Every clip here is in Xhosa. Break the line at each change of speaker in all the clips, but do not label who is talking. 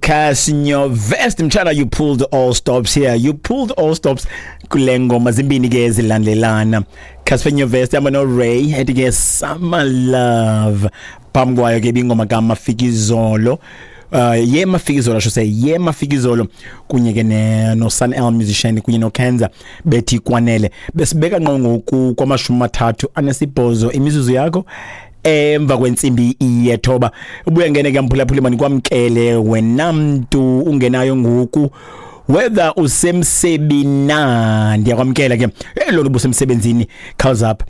Cassper Nyovest mtshana, you pulled all stops here. You pulled all stops kule ngoma zimbini ke zilandelana. Cassper Nyovest hamba no Ray ethi ke Summer Love. Phambi kwayo ke ibingoma kaMafikizolo. Ye Mafikizolo, I should say, ye Mafikizolo kunye ke no Sun El Musician kunye no Kenza bethi Kwanele. Besibeka ngqo ngoku kwama-38 imizuzu yakho emva kwentsimbi yethoba. Ubuya ngene ke mphulaphuli, manikwamkele wena mntu ungenayo ngoku, whether usemsebenzini na, ndiyakwamkela ke lona ubusemsebenzini. Khawuze apha,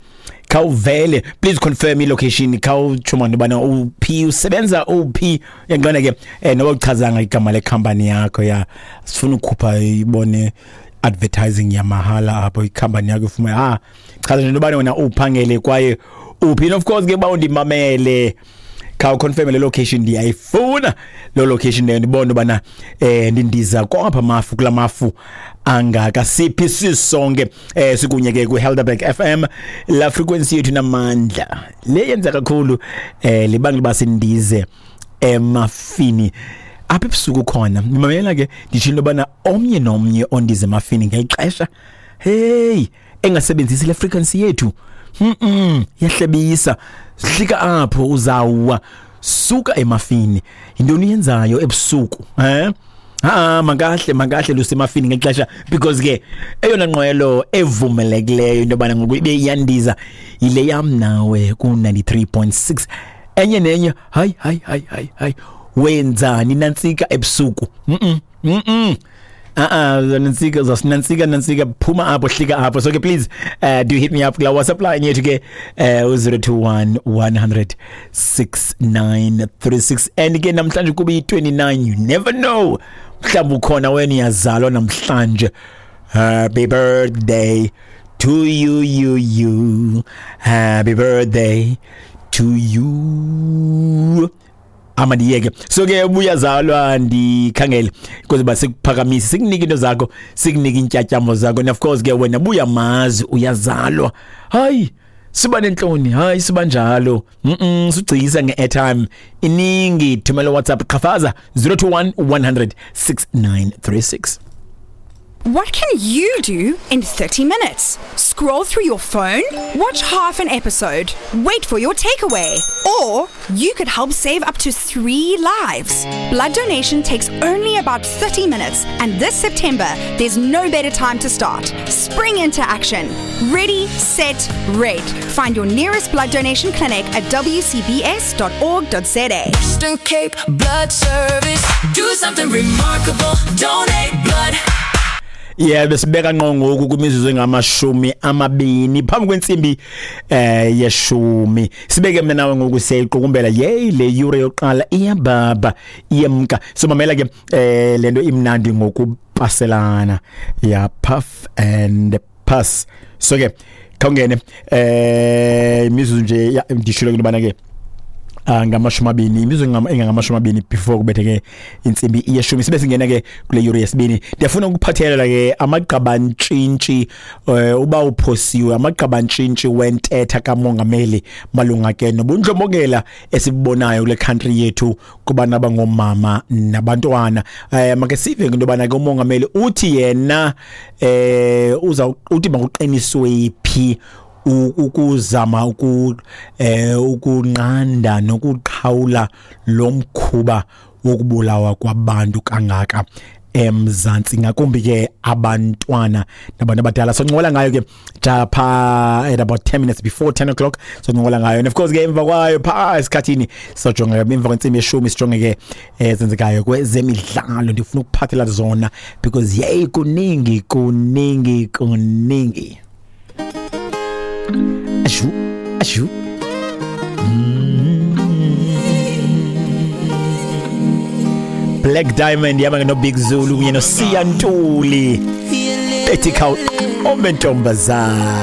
khawuvele, please confirm i-location, khawutsho mani ubana uphi, usebenza uphi. Uyangibona ke, noba uchazanga igama lekhampani yakho, ya sifuna ukukhupha ibone advertising yamahala apho ikhampani yakho ifuma. Chaza nje into yobana wena uphangele kwaye uphi. And of course ke, uba undimamele, khawuconfirm le location, ndiyayifuna loo location leyo, ndibone ubana ndindiza kwapha mafu, kula mafu angaka siphi sisonke. Sikunye ke kwi-Helderberg FM, la frequency yethu namandla le yenza kakhulu libangela uba sindize emafini apha ebusuku khona. Ndimamela ke, nditsho into yobana omnye nomnye ondize emafini ngeli xesha, hey, engasebenzisi le frequency yethu, yahlebisa, hlika apho, uzawuwa suka emafini. Yintoni uyenzayo ebusuku? Ha, makahle makahle lusemafini ngexesha, because ke eyona nqwelo evumelekileyo into yobana ngoku ibe iyandiza yile yam nawe ku-93.6. Enye nenye, hayi hayi hayi hayi hayi, wenzani nantsika ebusuku? Nantsika, zasinantsika, nantsika, phuma apho, hlika apho. So ke please, do hit me up kula WhatsApp line yethu ke, u-021 100 6936. And ke namhlanje kube yi-29, you never know, mhlawumbi ukhona wena uyazalwa namhlanje. Happy birthday to you, you, you, happy birthday to you. Ama ndiyeke. So ke ubuyazalwa, ndikhangele ukuze uba sikuphakamise, sikunike into zakho, sikunike iintyatyambo zakho. And of course ke wena buyamazi uyazalwa, hayi siba nentloni, hayi siba njalo, sugcisa nge-airtime iningi. Thumela WhatsApp, qhafaza 021 100 6936.
What can you do in 30 minutes? Scroll through your phone, watch half an episode, wait for your takeaway, or you could help save up to three lives. Blood donation takes only about 30 minutes, and this September, there's no better time to start. Spring into action. Ready, set, red. Find your nearest blood donation clinic at wcbs.org.za.
Western Cape Blood Service. Do something remarkable. Donate blood.
Yeah, besibeka ngqo ngoku kwimizuzu engama-20 phambi kwentsimbi yeshumi. Sibeke mina nawe ngoku, siyayiqukumbela yey le yure yokuqala, iyababa, iyemka. So mamela ke, lento imnandi ngokupaselana ya puff and pass. So ke khawungene imizuzu nje, ndishilo ke intobana ke ngama-20, imizuzu engangama-20 before kubethe ke intsimbi yeshumi, sibe singena ke kule yure yesibini. Ndiyafuna ukuphathelela ke amagqabantshintshi, uba uphosiwe amagqabantshintshi wentetha kamongameli malunga ke nobundlobongela esibubonayo kule country yethu kubantu abangoomama nabantwana. Make sive into yobana ke umongameli uthi yena uza uthi makuqiniswe phi ukuzama ukunqanda nokuqhawula lo mkhuba wokubulawa kwabantu kangaka eMzantsi, ngakumbi ke abantwana nabantu abadala. So ncokola ngayo ke ja pha at about 10 minutes before 10 o'clock, so ncokola ngayo. And of course ke emva kwayo pha esikhathini sojonga emva kwentsimbi yeshumi, sijonge ke ezenzekayo kwezemidlalo. Ndifuna ukuphathela zona because yey, kuningi kuningi kuningi. Ashu ashu. Blaq Diamond yama no Big Zulu kunye no Siya Ntuli bethi khawuqome ntombazana.